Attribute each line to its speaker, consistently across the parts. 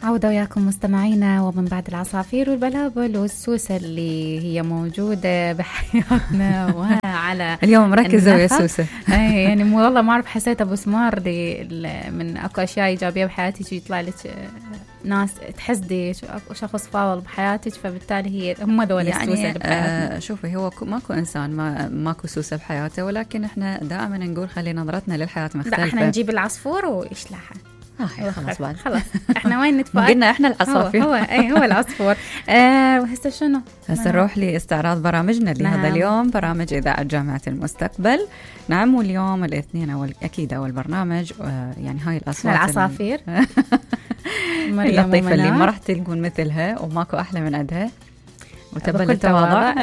Speaker 1: عودة وياكم مستمعينا، ومن بعد العصافير والبلابل والسوسة اللي هي موجودة بحياتنا وعلى
Speaker 2: اليوم مركزة ويا سوسة.
Speaker 1: يعني والله ما أعرف، حسيت أبو سمار من أكو أشياء إيجابية بحياتي يطلع لك ناس تحسدي شخص فاضل بحياتك، فبالتالي هي هم ذول السوسة اللي بحياتنا.
Speaker 2: شوفي، هو ماكو إنسان ماكو سوسة بحياته، ولكن إحنا دائما نقول خلي نظرتنا للحياة مختلفة.
Speaker 1: لا، إحنا نجيب العصفور ويشلحها.
Speaker 2: خلاص بعد
Speaker 1: خلاص احنا وين نتفاعل؟
Speaker 2: قلنا احنا العصافير.
Speaker 1: هو العصفور. وهسه شنو؟
Speaker 2: هسه نروح لاستعراض برامجنا لهذا اليوم، برامج إذاعة جامعة المستقبل. نعم، واليوم الاثنين أكيد أول برنامج، يعني هاي الأصوات
Speaker 1: العصافير
Speaker 2: اللطيفة اللي ما راح تلقون مثلها وماكو أحلى من عندها، وتبل التواضع.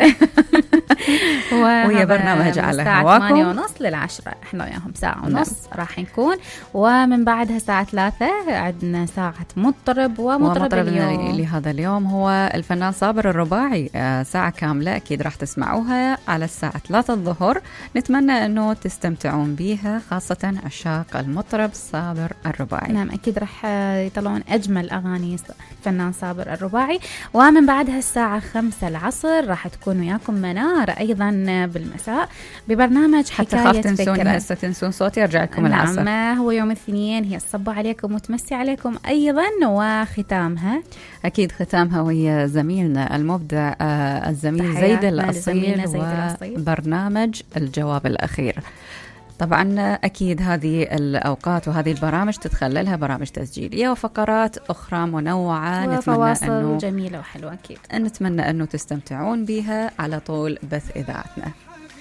Speaker 2: وهي برنامج على هواكم
Speaker 1: 8:30 لل10، احنا وياهم ساعة ونص راح نكون، ومن بعدها الساعة 3 عندنا ساعة مطرب. ومطرب
Speaker 2: لهذا اليوم هو الفنان صابر الرباعي، ساعة كاملة أكيد راح تسمعوها على الساعة 3 الظهر. نتمنى أنه تستمتعون بيها، خاصة عشاق المطرب صابر الرباعي.
Speaker 1: نعم أكيد راح يطلعون أجمل أغاني فنان صابر الرباعي. ومن بعدها الساعة 5 العصر راح تكون وياكم منار أيضا بالمساء ببرنامج حكاية
Speaker 2: حتى تنسون هسه تنسون صوتي، أرجع لكم العصر.
Speaker 1: نعم، هو يوم الاثنين، هي الصبة عليكم وتمسي عليكم أيضا. وختامها
Speaker 2: أكيد ختامها وهي زميلنا المبدع الزميل زيد الأصيل وبرنامج الجواب الأخير. طبعا أكيد هذه الأوقات وهذه البرامج تتخللها برامج تسجيلية وفقرات أخرى منوعة،
Speaker 1: وفواصل جميلة وحلوة. أكيد
Speaker 2: نتمنى أنه تستمتعون بها على طول بث إذاعتنا.